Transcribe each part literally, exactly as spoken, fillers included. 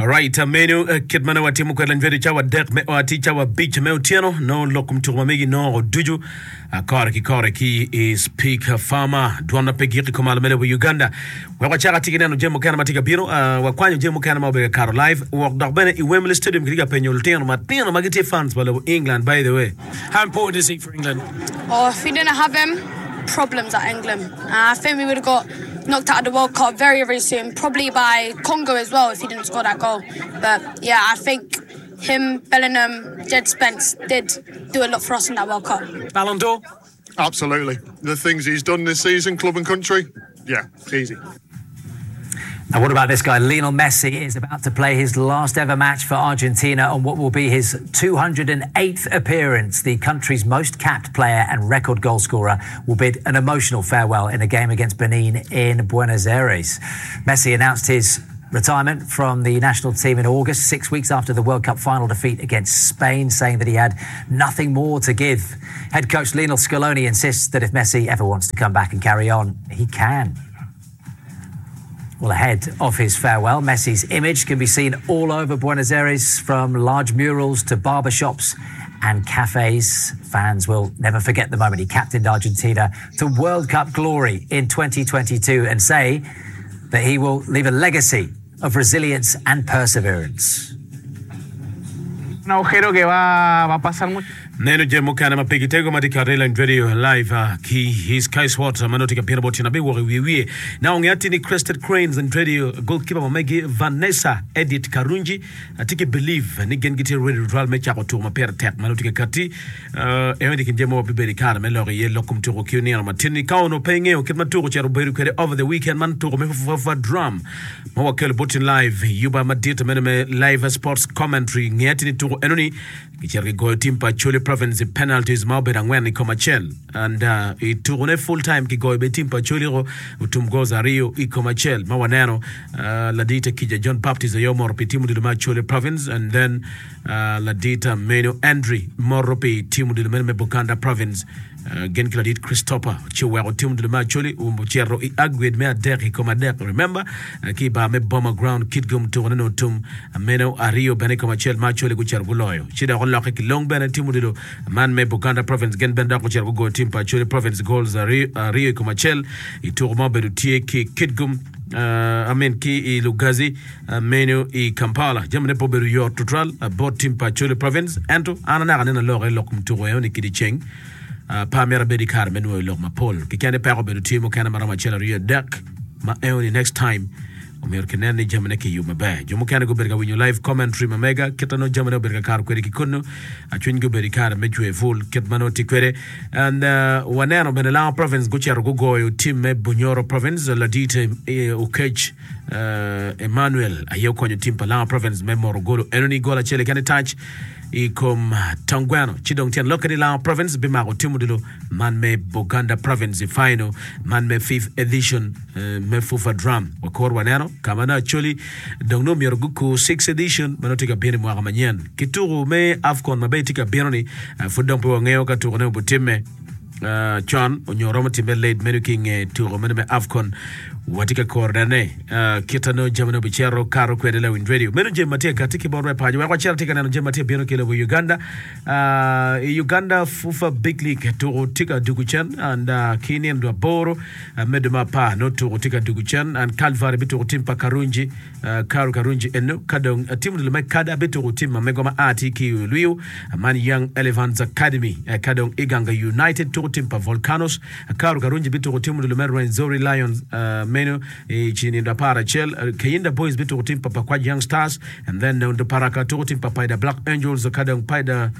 Alright, meno kit ma nongo watimo kwede lany video cawa adek me ot cawa abic me otyeno nongo lok kom tuko ma megi nongo ducu kore ki kore ki i Speak Farmer dwon ma pe gik i kom alo me lobo Uganda. Wek wacak atye ki neno jami mukene ma tye ka bino, wakwanyo jami mukene ma obedo ka kato live wok dok bene i Wembley Stadium kitye ka penyo lutino matino ma gitye fans pa lobo England by the way. How important is he for England? Oh, if we didn't have him, problems at England. Uh, I think we would have got knocked out of the World Cup very, very soon, probably by Congo as well if he didn't score that goal. But yeah, I think him, Bellingham, Jed Spence did do a lot for us in that World Cup. Ballon d'Or? Absolutely. The things he's done this season, club and country, yeah, easy. Now, what about this guy? Lionel Messi is about to play his last ever match for Argentina on what will be his two hundred and eighth appearance. The country's most capped player and record goal scorer will bid an emotional farewell in a game against Benin in Buenos Aires. Messi announced his retirement from the national team in August, six weeks after the World Cup final defeat against Spain, saying that he had nothing more to give. Head coach Lionel Scaloni insists that if Messi ever wants to come back and carry on, he can. Well, ahead of his farewell, Messi's image can be seen all over Buenos Aires, from large murals to barbershops and cafes. Fans will never forget the moment he captained Argentina to World Cup glory in twenty twenty-two and say that he will leave a legacy of resilience and perseverance. Un agujero que va, va a pasar mucho. Neno jami mukene ma pe gitego ma tye ka Reline Radio live uh, ki i Sky Sports ma nongo tye ka bino bot tyen abiwok i wiye wiye. Na onge ati ni Crested Cranes and Radio goalkeeper ma megi Vanessa Edith Karungi atye ki believe ni gin gitye ready tutwal me cako tuko ma pire tek ma nongo tye ka kati. Uh, eno ni kin jami mo bibedo i kare me lok iye lok kom tuko ki onino matin ni ka ono pe ingeyo kit ma tuko ocito obedo kwede over the weekend man tuko me Fufa Drum ma wakelo bot tyen live yuba madit meno me live sports commentary nge ati ni tuko eno ni gicito gigoyo team pa Acholi Province i penalties ma obedo angwen i kom acel and uh, i tukone full time kigoyo be team pa Acholi ko otum goals aryo i kom acel ma waneno uh, ladita Kija John Baptist aye omoro pi team odilo me Acholi Province and then uh, ladita meno Andre moro pi team odilo meno me Buganda Province. Uh, gin ki ladit Christopher ci oweko team odilo me Acholi ocito i aggregate me adek i kom adek. Remember, uh, ki i bar me Boma Ground Kitgum tukone no otum meno aryo bene i kom acel ma Acholi gucito guloyo. Ci dok olokke ki long bene team odilo man me Buganda Province gin bene dok gucito gugoyo team pa Acholi Province goals aryo, aryo i kom acel i tuko ma obedo tye ki Kitgum. Uh, I mean, ki i Lugazi, uh, meno i Kampala. Jamine pe obedo yot tutwal, uh, bot team pa Acholi Province. Ento, an anaka neno aloke lok kom tuko eno ni kidi ceng. Uh, pa myero abed i kare me nwoyo lok mapol. Kikene peko obedo tye mukene maromo acel aryo adek ma eno ni next time omyero kinen ni jamine kiyubo maber. Jo mukene gubedo ka winyo live commentary ma mega kit ma nongo jamine obedo ka kato kwede ki kunnu. Acwiny gubedo i kare me cwer pul kit ma nongo tye kwede. And, uh, waneno bene Lango Province gucito gugoyo team me Bunyoro Province. Ladit, eh, Okech, uh, Emmanuel aye okonyo team pa Lango Province me moro golo. Eno ni gol acel keken i touch i kom Tongweno. Ci dong tyen lokke ni Lango Province bimako team odilo man me Buganda Province i final man me fifth edition, eh, me Fufa Drum. Wakor waneno ka ma nongo Acholi dong nongo myero gukur sixth edition ma nongo tye ka bino i mwaka manyen. Ki tuko me AFCON ma bene tye ka bino ni, eh, pud dong pe wangeyo ka tukone obotimme, eh, con onyo romo timme late meno ki nge tuko meno me AFCON. Watye ka koro nene, eh, kita nongo jami nongo bicito kato kwede Lawiny Radio. Meno jami ma tye ka kati ki bot paco. Wek wacito tye ka neno jami ma tye bino ki lobo Uganda. Uh, i Uganda Fufa Big League tuko tye ka dugu cen and, uh, ki nindo aboro, uh, medo ma apar nongo tuko tye ka dugu cen and Calvary bituko tim pa Karungi, uh, Karu Karungi eno ka dong, uh, tim odilo me Kada bituko tim ma mego ma a tye ki Luiu, uh, man Young Elephants Academy, uh, ka dong Iganga United tuko tim pa Volcanoes, uh, Karu Karungi bituko tim odilo me Rwenzori Lions, uh, meno i ci nindo apar acel, uh, Kayinda Boys bituko tim pa Pakwach Young Stars and then Nondo Paraka tuko tim pa Paida Black Angels ka dong Paida,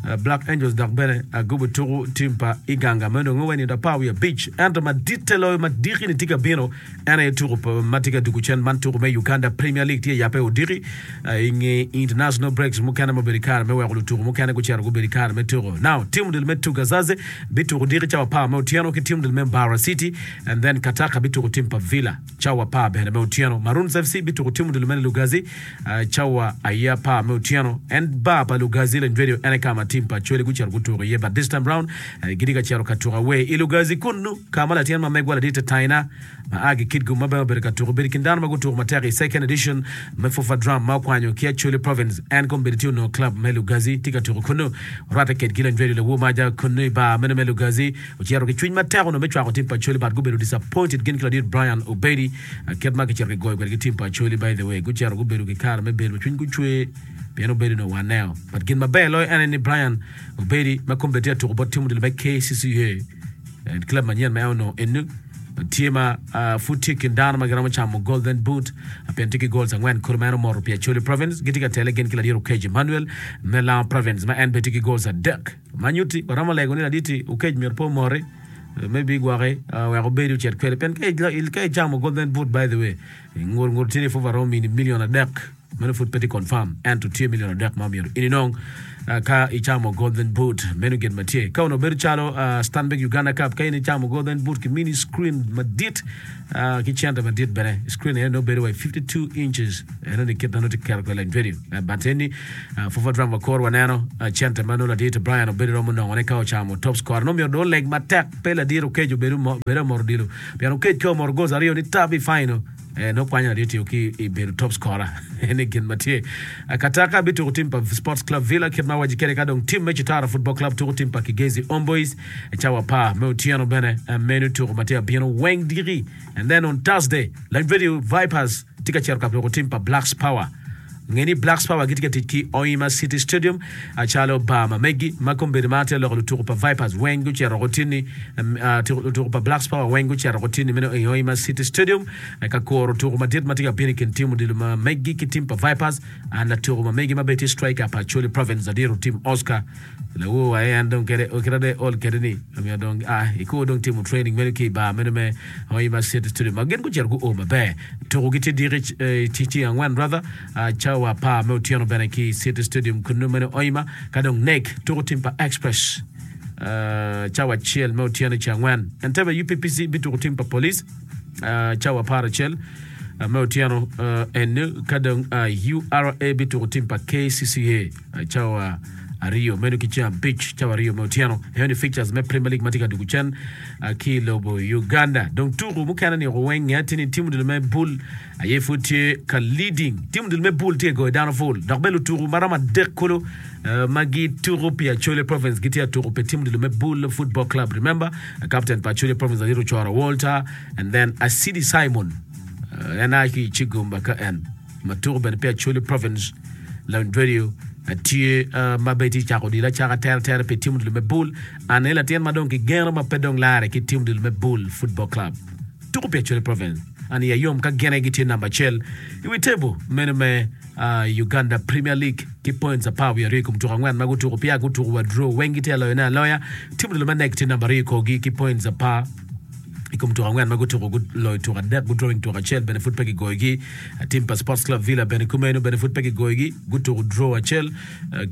uh, Black Angels dok bene, uh, gubo tuko tim pa Iganga meno dong owe nindo apar wiye abic. Ento maditte loyo madiki ni tye ka bino en aye tuko pa ma tye ka dugo cen man tuko me Uganda Premier League tye yape odiki, uh, i nge international breaks mukene ma obedo i kare me weko lutuko mukene gucito gubedo i kare me tuko. Now tim odilo me Tugazaze bituko diki cawa apar me otyeno ki tim odilo me Mbarara City and then Kataka bituko tim pa Villa cawa apar bene me otyeno. Maroons F C bituko tim odilo me Lugazi, uh, cawa aye apar me otyeno. En bar pa Lugazi Lany Radio en aye ka ma team pa Acholi gucito gutuko iye but this time round gitye ka cito ka tuko away i Lugazi kunnu ka ma latin ma megwa ladit Taina ma a ki Kitgum ma bene obedo ka tuko obedo i kin dano ma gutuko matek i second edition me FUFA Drum ma okwanyo ki Acholi Province en kombeddi tye onongo club me Lugazi tye ka tuko kunnu orwatte kedgi Lanyredio Lawur Maja kunnu i bar meno me Lugazi ocito ki cwiny matek onongo me cwako team pa Acholi but gubedo disappointed gin ki ladit Brian Obedi kit ma kicito kigoyo kwede ki team pa Acholi by the way gucito gubedo ki kare me bedo ma cwiny gucwe pien Obedi onongo waneo but gin maber loyo en aye ni Brian Obedi ma kombeddi tye ka tuko bot team odilo me K C C A club manyen ma en onongo enu tye ma pud tye i kin dano ma giromo camo Golden Boot pien tye ki goals angwen kulu ma en omoto pi Acholi Province gitye ka tele gin ki ladit Okech Emmanuel me Lango Province ma en bene tye ki goals adek ma nyutti waromo lego ni ladit Okech myero pe omoti maybe gwoki wek obedi ocit kwede pien ka icamo Golden Boot by the way ngur ngur tye ni pud waromo mini million adek meno pud pe tye confirm ento tye million adek ma myero in inong ka icamo Golden Boot meno gin ma tye ka onongo bedo calo Stanbic Uganda Cup ka in icamo Golden Boot ki mini screen madit ki cente madit bene screen eno nongo bedo wa fifty-two inches eno ni kit ma nongo tye keto kwede lany radio but eni FUFA Drum wakor waneno cente ma nongo ladit Brian obedo romo nongone ka ocamo top scorer nongo myero dong oleg matek pe ladit Okech obedo omoto odilo pien Okech ka omoto goals aryo ni tab i final nongo kwanyo ladit ki i bedo top scorer eni gin ma tye Kataka bituko team pa Sports Club Villa kit ma waci kede ka dong team me Kitara Football Club tuko team pa Kigezi Homeboys cawa apar me otyeno bene meno tuko ma tye abino weng diki and then on Thursday Lany Radio Vipers tye ka cito ka tuko team pa Blacks Power nge ni Blacks Power gitye ka tic ki Hoima City Stadium calo bar ma megi ma kombeddi ma tye loko lutuko pa Vipers weng gucito otini lutuko pa Blacks Power weng gucito otini meno i Hoima City Stadium ka kuro tuko madit ma tye ka bino i kin team odilo ma megi ki team pa Vipers and latuko ma megi ma bene tye striker pa Acholi Province adiro team Oscar lawo wa en dong kede kede de ol kede ni omiyo dong ah iko dong timo training meno ki i bar meno me Hoima City Stadium ma gin gucito guo maber tuko gitye diki ceng angwen rather cawa apar me otyeno bene ki City Stadium kunu meno Hoima ka dong N E C tuko team pa Express cawa acel me otyeno ceng angwen Entebbe U P P C bituko team pa Police cawa apar acel me otyeno enu ka dong U R A bituko team pa K C C A cawa aryo meno ki ceng abic cawa aryo me otyeno eno ni fixtures me Premier League ma tye ka dugo cen ki lobo Uganda dong tuko mukene ni weng nge tye ni team odilo me bul aye pud tye ka leading team odilo me bul tye ka goyo dano full dok bene lutuko maromo adek kulu ma gituko pi Acholi Province gitye ka tuko pi team odilo me Bul Football Club. Remember captain pa Acholi Province adito Choro Walter and then Asidi Simon en a ki i Chigumba ka en ma tuko bene pi Acholi Province Lany Radio tye ma bene tye cako odilo acaka tere tere pi team odilo me Bul an aye latin ma dong kigeno ma pe dong lare ki team odilo me Bul Football Club tuko pi Acholi Province an iya yom ka gin aye gitye namba acel i wi table meno me Uganda Premier League ki points apar wiye aryo i kom tuko angwen ma gutuko pia gutuko wa draw weng gitye aloyone aloya team odilo me N E C tye namba aryo i korgi ki points apar i kom tuko angwen ma gutuko guloyo tuko adek gudrawing tuko acel bene pud pe kigoyogi team pa Sports Club Villa bene kumeno bene pud pe kigoyogi gutuko draw acel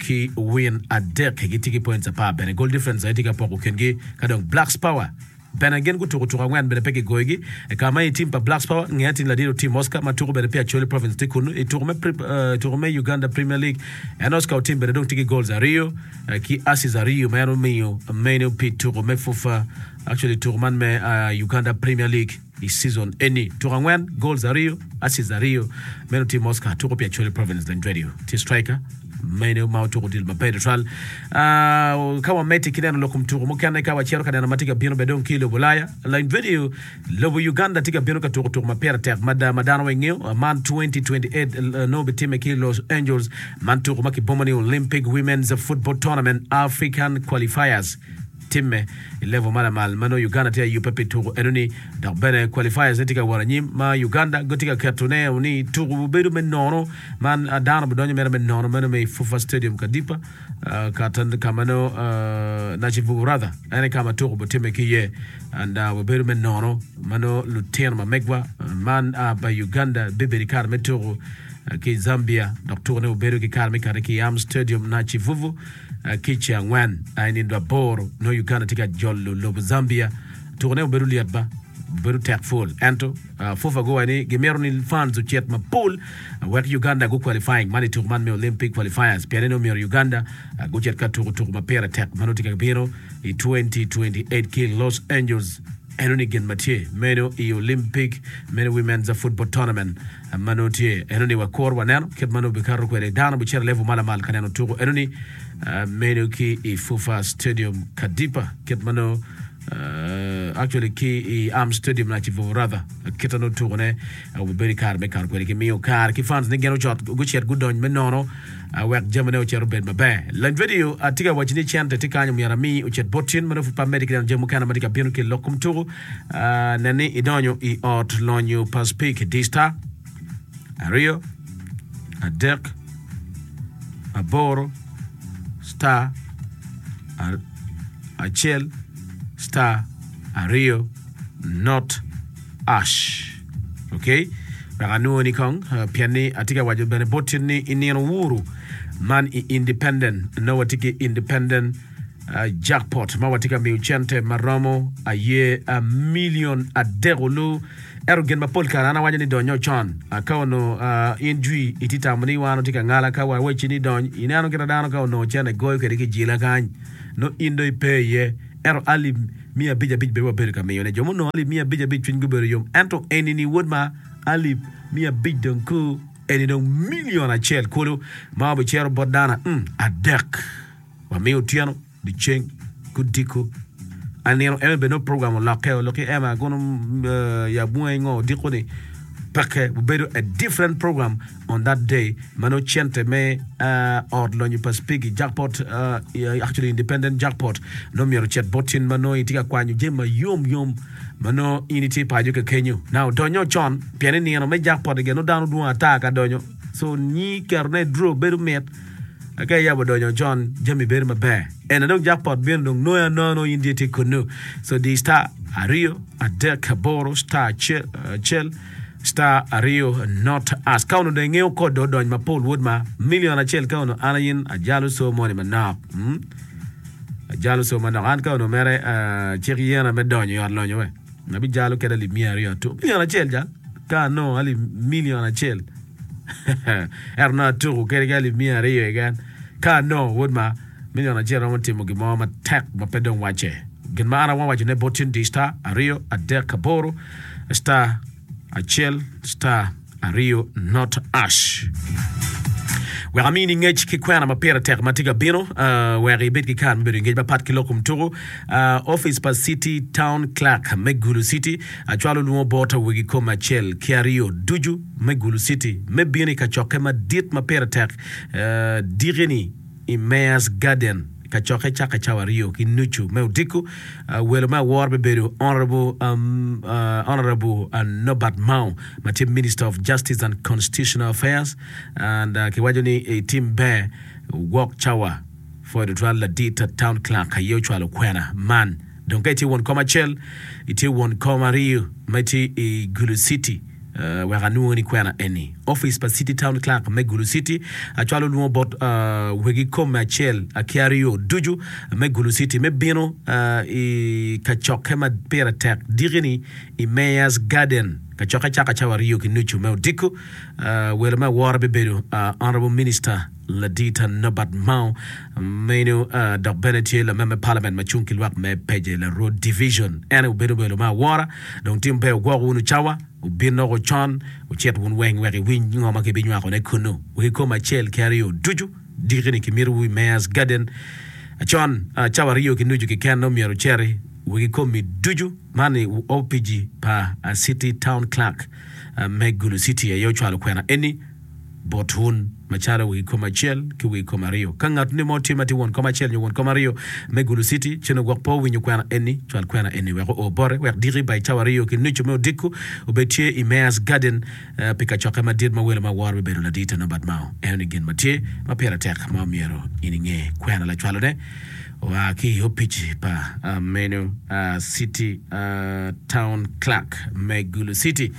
ki win adek gitye ki points apar bene goal difference aye tye ka poko kingi ka dong Blacks Power bene gin gutuko tuko angwen bene pe kigoyogi ka ma i team pa Blacks Power nge tin ladit Otim Oscar ma tuko bene pi Acholi Province tye kunu i tuko me, uh, tuko me Uganda Premier League en Oscar Otim bene dong tye ki goals aryo uh, ki assists aryo ma en omiyo meno pi tuko me FUFA actually tuko man me uh, Uganda Premier League i season eni tuko angwen goals aryo assists aryo meno Otim Oscar tuko pi Acholi Province Lany Radio tye striker meno ma otuko odilo maber tutwal uh, ka wamedde ki neno lok kom tuko mukene ka wacito ka neno ma tye ka bino bene dong ki i lobo Ulaya Lany Radio lobo Uganda tye ka bino ka tuko tuko ma pire tek mada ma dano weng ngeyo man twenty twenty-eight uh, nongo bitime ki Los Angeles man tuko ma kibomo ni Olympic Women's Football Tournament African Qualifiers timme i level ma lamal ma nongo Uganda tye ayubbe pi tuko enoni dok bene qualifiers ne tye ka wot anyim ma Uganda gitye ka ketone ni tuko bedo me nono man dano bidonyo mere me nono meno me FUFA Stadium Kadipa uh, kata kama no uh, Nakivubo rather ene kama tuko bitimme ki iye and uh, wabedo me nono mano lutino ma megwa man uh, pa Uganda bibedo i kare me tuko uh, ki Zambia dok tuko ne obedo ki kare me kare ki Am Stadium Nakivubo uh, ki ceng angwen uh, nindo aboro no Uganda tye ka jolo lobo Zambia tuko ne obedo lyet ba Bedo tek full. Ento uh, FUFA guwaco ni gimito ni fans ocit mapol uh, wek Uganda gu qualifying man i tuko man me Olympic qualifiers. Pien ni omyero Uganda uh, gucit ka tuko tuko ma pire tek ma nongo tye ka bino i twenty twenty-eight ki Los Angeles. Eno ni gin ma tye meno i Olympic meno Women's Football Tournament uh, ma nongo tye. Eno ni wakor waneno kit ma nongo bikato kwede. Dano bicito level ma lamal ka neno tuko. Eno ni uh, meno ki i FUFA Stadium Kadipa kit ma nongo Uh, actually ki i Am Stadium na Chivuvu rather kita no tuko ne uh, obedo kare me kare kwede ki miyo kare ki fans ni geno cot gucit gudony me nono uh, wek jamane ocito obed maber. Lany video atye ka waco ni cente tye kany omyero ami ocit bot tin ma nongo pud pe amedde ki neno jami mukene ma tye ka bino ki lok kom tuko. Uh, nen ni idonyo i ot lonyo pa Speke di star aryo adek aboro star ar- acel star aryo not ash. Okay? Wek anwoni kong, uh, pien ni atye ka waco bene bot tin ni i nino wuru man i independent, no watye ki independent, uh, jackpot ma watye ka miyo cente ma romo aye a million adek olu. Ero gin mapol kare an awaco ni donyo con. Uh, ka ono, uh, in jwi iti tamo ni wan otye ka ngala ka wa weci ni dony, ineno kita dano ka onongo cente goyo kede ki jila kany. No in do ipe iye. Ero alip mia abic abic bene wabedo ka miyone. Jo munongo alip mia abic abic cwiny gubedo yom. Ento eni ni wod ma alip mia abic dong ku eni dong milion acel kulu ma obicero bot dano, mm, adek. Wamiyo otyeno, dyeceng, kudiko. Anino eme bene no program olokke, olokke ema agono, uh, ya bunga ingo odiko ni peke obedo a different program on that day. Mano cente me, uh, ot lonyo pa Speke jackpot, uh, actually independent jackpot no myero cet bot tin ma no itye ka kwanyo jami ma yom yom ma no in itye paco ka kenyo. Now donyo con pien ni nino me jackpot ige no dano dwong ata ka donyo, so nyi keto ne draw bedo mit. Ka iyabo donyo con jami bedo maber. En dong jackpot bino dong noya nono in tye kunu. So di star aryo adek aboro star acel, acel star aryo not as. Ka ono dong ingeyo kod do odony mapol wod ma million acel ka ono an ayin ajalo so moni manok. Hmm? Ajalo so manok. An ka ono mere, uh, cik yena me donyo i ot lonyo we. Nabi jalo kede alip mia aryo atu. Million acel jal. Ka ano alip million acel. Ero na atuko kede ki alip mia aryo again. Ka ano wod ma million acel romo timo gimo matek ma pe dong wace. Gin ma an awa waco ne bot tin di star aryo adek aboro star acel star aryo not ash. Wek amini ngec ki kwena ma pire tek ma tye ka bino, uh, wek ibed ki kare me bedo i ngec mapat ki lok kom tuko. Uh, office pa City Town Clerk me Gulu City acwalo lwongo bot wegi kom acel ki aryo ducu me Gulu City me bino i kacokke madit ma pire tek, uh, dikini i Mayor's Garden. Kacokke caka cawa aryo ki nucu me odiko. Uh, welo me awor bibedo Honorable, um, uh, Honorable, uh, Norbert Mao ma tye Minister of Justice and Constitutional Affairs, and, uh, kiwaco ni i tim ber gwok cawa for the twelve ladit Town Clerk aye ocwalo kwena man. Dong ka itye won kom acel, itye won kom aryo ma itye i Gulu City, uh, wek anwongo ni kwena eni. Office pa City Town Clerk me Gulu City acwalo lwongo bot, uh, wegi kom acel ki aryo ducu me Gulu City me bino, uh, i kacokke ma pire tek dikini i Mayor's Garden. Kacokke caka cawa aryo ki nucu me odiko. Uh, welo me awora bibedo, uh, Honorable Minister Ladita Norbert Mao meno, uh, dok bene tye lamem me Parliament ma cung ki lwak me Peje la Road Division. En obedo welo me awora. Dong tim ber ogwoko wunu cawa, obin loko con, ocit wun weng wek iwiny ngo ma kibinywako ne kunu. Wegi kom acel ki aryo ducu dikini kimito wu i Mayor's Garden. Con, uh, cawa aryo ki nucu keken no myero oceri wegi komi ducu man i O P G pa, uh, City Town Clerk, uh, me Gulu City aye ocwalo kwena eni bot wun macalo wegi kom acel ki wegi kom aryo. Ka ngat ni mo tye ma tye won kom acel nyo won kom aryo me Gulu City, cen ogwok pe owinyo kwena eni, cwal kwena eni wek oo bote, wek diki by cawa aryo ki nucu me odiko obed tye i Mayor's Garden, uh, pi kacokke madit ma welo ma woro bibedo ladit Norbert Mao. Eno ni gin ma tye ma pire tek ma omyero in inge kwena lacwalone oa ki i opic pa, uh, meno, uh, City, uh, Town Clerk me Gulu City.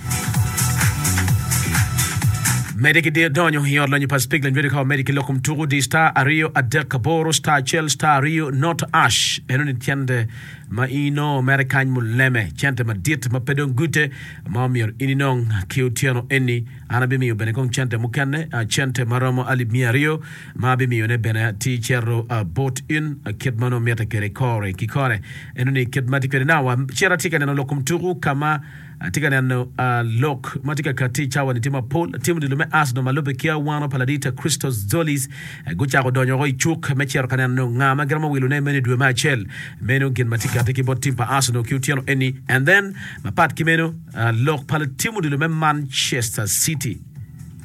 Mede ki donyo i ot lonyo pa Spiglin Radio ka wamedi ki lok kom tuku di star aryo adek aboro star acel star aryo not ash eno ni cente ma ino mere kany muleme cente madit ma pe dong gute ma omyero in inong ki otyeno eni an abimiyo bene kong cente mukene uh, cente maromo alip mia aryo ma abimiyone bene ti cero uh, bot in uh, kit ma nongo mitte kwede kore ki kore eno ni kit ma tye kwede nawa cero atye ka neno lok kom tuku kama atye ka neno uh, lok ma tye ka kati cawa ni tye mapol tim odilo me Arsenal ma lubbe ki awano pa ladit Christos Tzolis eh, gucako donyo oko i cuk me cero ka neno nga ma giromo wilone meno i dwe me acel meno gin ma tye kati ki bot tim pa Arsenal ki otyeno eni and then mapat ki meno uh, lok pa tim odilo me Manchester City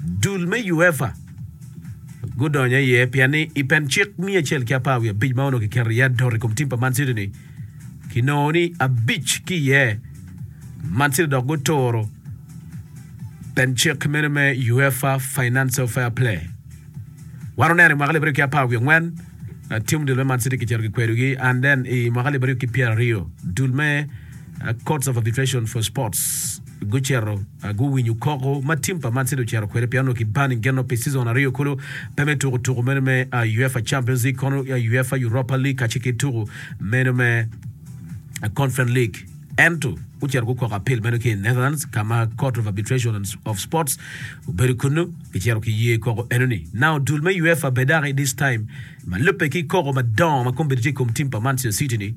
dul me UEFA gudonyo iye pien ni i pen cik mia acel ki apar wiye abic ma onongo kiketo iye adot i kom tim pa Man City ni kinongo ni abic ki iye Man City dok guturo pen cik meno me UEFA Financial Fair Play wan oneno i mwaka alip aryo ki apar wiye angwen uh, tim dul me Man City kicito kikwedogi and then i mwaka alip aryo ki pyera aryo dul me uh, Courts of Arbitration for Sports gucito uh, guwinyo koko ma tim pa Man City ocito kwede pien onongo kibani geno pi season aryo kulu pe me tuko tuko meno me uh, UEFA Champions League kono uh, UEFA Europa League kacel ki tuko meno me uh, Conference League ento gucito gukoko appeal meno ki i Netherlands kama Court of Arbitration of Sports obedo kunu kicito ki ye koko enoni now dul me UEFA bedaki this time ma lubbe ki koko madongo ma kombeddi tye i kom tim pa Manchester City ni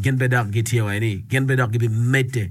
gin be dok gitye wa ni gin be dok gibimedde